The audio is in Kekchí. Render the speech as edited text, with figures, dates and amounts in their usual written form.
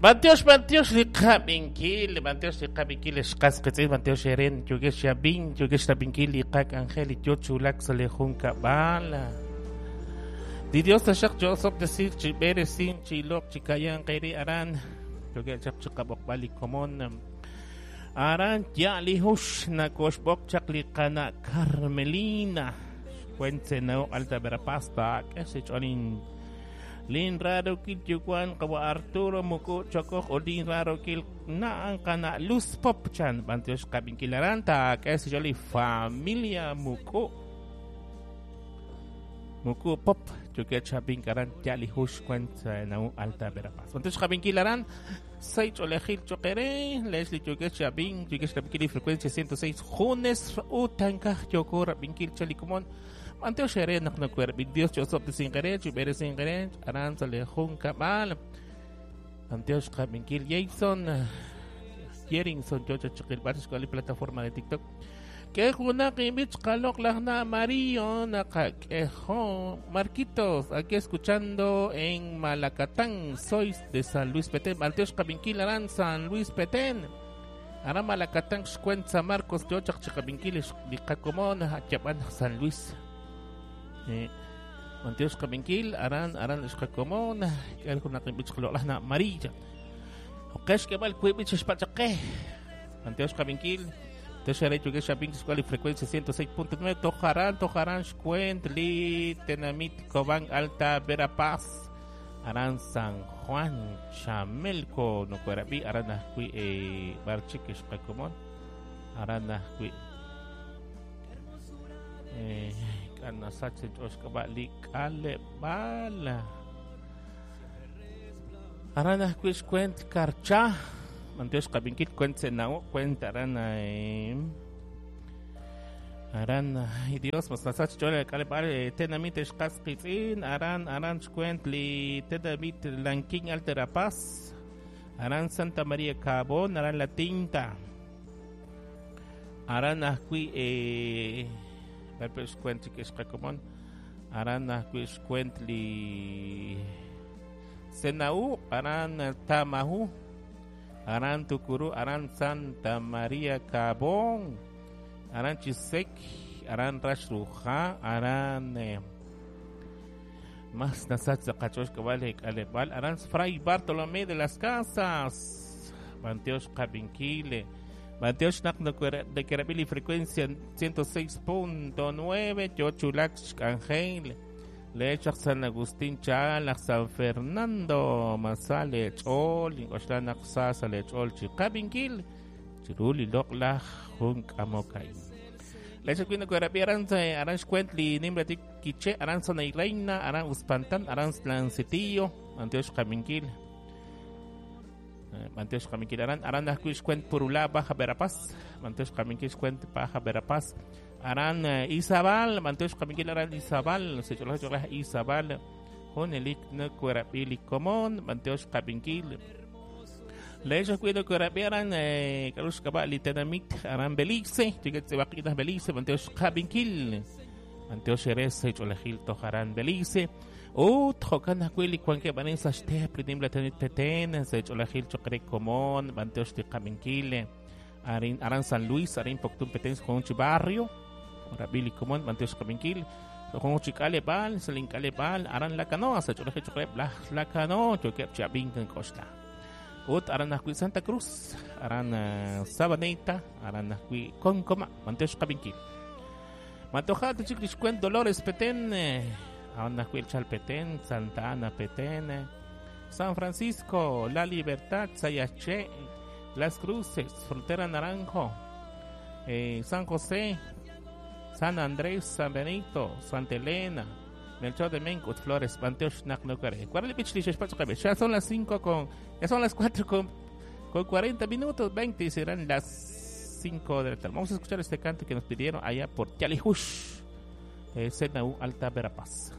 B'antiox, b'antiox li qab'inkil, b'antiox li qab'inkil xqas qitz'in, b'antiox eren yokex yab'in, yokex rab'inkil li qak'anjel li yo chulak sa' li junkab'al. Li Dios taxaq cho'osob'tesij chi b'eresin chi iloq chi kayan qeri aran, yoke' chaq chi qab'oqb'al li komon. Aran ya li hux nakoxb'oq chaq li qana Carmelina. Xwent Senao Alta Verapaz taak'e xch'olin Lin rarokil yuwan qawa Arturo Muku Chokoj o lin rarokil naan qana Luz Pop chan b'antiox qab'inkil aran taak'e xch'oli familia Muku Muku Pop yoke chab'ink aran ya li hux xwent Senao Alta Verapaz. B'antiox qab'inkil aran say ch'oolejil choqere lex li yoke chab'ink yoke xrab'inkil li frecuencia 106 junes utankaj yoko rab'inkil chalikomon B'antiox ere naq nakuerb'il Dios cho'osob'tesinqere chub'eresinqere aran sa' li junkab'al. B'antiox qab'inkil Jason Jerinson yo chachiqilb'al xk'al li plataforma de TikTok. K'e junaq inb'ich qaloq laj na Mario naqak'ejo Marquitos aquí escuchando en Malacatán sois de San Luis Petén. B'antiox qab'inkil aran San Luis Petén. Aran Malacatán xkwent San Marcos yo chaq chiqab'inkil li qakomon yab'an San Luis. B'antiox qab'inkil aran aran xqakomon k'e junaq inb'ich qaloq laj na Maria. Joqex k'eb'al wiib' b'ich xpachaqe. B'antiox qab'inkil Texere yoke xab'ink xk'al li frecuencia 106.9 tojaran tojaran xkwent li tenamit Cobán Alta Verapaz aran San Juan Chamelco nokuerab'i aran ajwi' b'ar chik xqakomon aran ajwi' k'anasach ch'oxk'ab'a li k'aleb'al aran ajwi' xkwent Karcha b'antiox qab'inkil kwent Senao kwent aran aran ay Dios mas nasach ch'ool k'aleb'al tenamit xqas qitz'in aran aran xkwent li tenamit Lanquín Alta Verapaz aran Santa María Cabón aran La Tinta aran ajwi' b'arpe xkwent chik xqakomon aran ajwi' xkwent li Senau aran Tamajú aran Tucurú aran Santa María Cabón aran Chisec aran Raxruja aran mas nasach sa qach'ox k'ab'al k'aleb'al aran Fray Bartolomé de las Casas b'antiox qab'inkil b'antiox naq nakerab'il li frecuencia 106.9 yo chulak xk'anjel lechaq San Agustín Chal aj San Fernando masale ch'ool ink'oxla naq sa sa lech'ool chi qab'inkil chiru li loq'laj jun k'amoka'in. Lechaq wi' nakerab'i aran aran xkwent li nimla tik Quiché aran Zona y Reina aran Uspantán aran Tlancitillo b'antiox qab'inkil b'antiox qab'inkil aran aran ajwi' xkwent Purulá Baja Verapaz b'antiox qab'inkil xkwent Baja Verapaz aran Izabal b'antiox qab'inkil aran Izabal sech'olaj ch'olaj Izabal junelik nakuerab'i li komon b'antiox qab'inkil Lechaq wi' nakuerab'i aran k'aru xk'ab'a' li tenamit aran Belice yoke tz'ib'aq'inaj Belice b'antiox qab'inkil b'antiox ere sech'olejil toj aran Belice ut jo'kan ajwi' li wankeb' arin sa' xteep li nimla tenamit Petén sech'olejil choq re komon b'antiox li qab'inkil arin aran San Luis arin Poptún Petén jun chi barrio rab'i li komon b'antiox qab'inkil jun chi k'aleb'aal sa' lin k'aleb'aal aran La Canoa sech'olejil choq reheb' laj La Canoa yookeb' chi ab'ink nk'oxla ut aran ajwi' Santa Cruz aran Sabaneta aran ajwi' Concoma b'antiox qab'inkil Matoja chik li xkwent Dolores Petén aran ajwi' Chal Petén Santa Ana Petén San Francisco La Libertad Sayaxché Las Cruces Frontera Naranjo San José San Andrés San Benito Santa Elena Melchor de Menco Flores b'antiox naq nokare Cuál li b'ich li xexpach qab'e ya son las 5 con ya son las 4 con 40 minutos 20 y serán las 5 de la tarde. Vamos a escuchar este canto que nos pidieron allá por Yalijush, Senau Alta Verapaz.